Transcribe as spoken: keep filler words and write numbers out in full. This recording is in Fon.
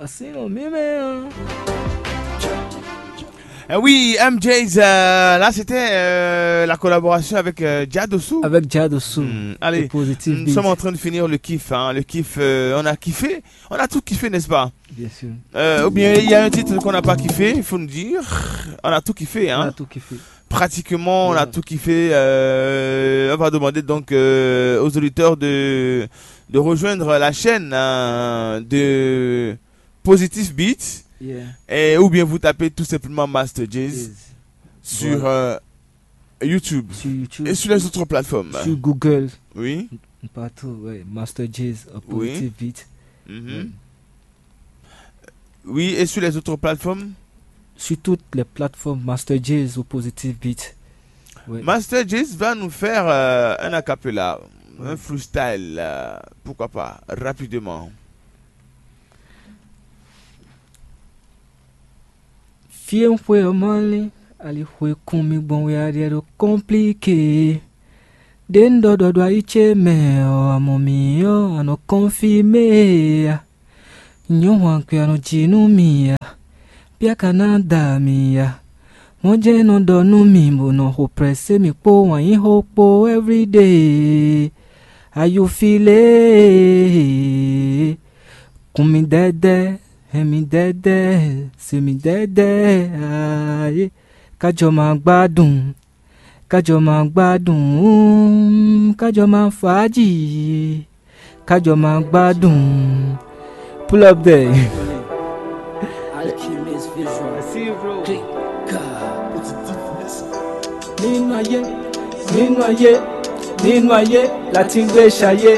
Así lo mí mɛ ɔ́. Eh oui, M J's, euh, là c'était euh, la collaboration avec euh, Jadosou. Avec Jadosou. Hmm, allez, nous sommes en train de finir le kiff. Hein. Le kiff, euh, on a kiffé. On a tout kiffé, n'est-ce pas? Bien sûr. Euh, ou bien il y a un titre qu'on n'a pas kiffé, il faut nous dire. On a tout kiffé. Hein. On a tout kiffé. Pratiquement, on a tout kiffé. Euh, on va demander donc euh, aux auditeurs de, de rejoindre la chaîne hein, de Positive Beats. Et, ou bien vous tapez tout simplement Master J's sur euh, YouTube. Sur YouTube. Et sur les autres plateformes. Sur Google. Oui. Partout, ouais. Master J's, euh, Positive Beats. Mhm. Oui, et sur les autres plateformes? Sur toutes les plateformes, Master J's ou Positive Beats. Ouais. Master J's va nous faire euh, un a cappella, un freestyle, euh, pourquoi pas, rapidement. Fí e un xwe ɔ́ mɔ lé, ali xwe kún mì gbɔn wɛ a ɖe ɖo kɔ́nplíke. Ɖě un ɖɔ ɖɔ ɖo ayi ce mɛ ɔ́, a mɔ mì ɔ́, a nɔ kɔnfimé a? Nyɔ̌ hwan kwe a nɔ ji nú mì a? Bia ka ná da mì a? Mɔ̌ jɛ́n nɔ ɖɔ nú mì bó nɔ xo prɛsé mì kpó wǎnyíxó kpó ɛvríɖée. Ayufilée, kun mì dɛ́dɛ́, hɛn mì dɛ́dɛ́, se mì dɛ́dɛ́, ayé. Kájɔ ma gbádùn, kájɔ ma gbádùn, kájɔ ma fàájì, kájɔ ma gbádùn. Pull up there. Alchemist visual. I see you, bro. Click. Nínú ayé, nínú ayé, nínú ayé, la ti ń gbé ṣayé.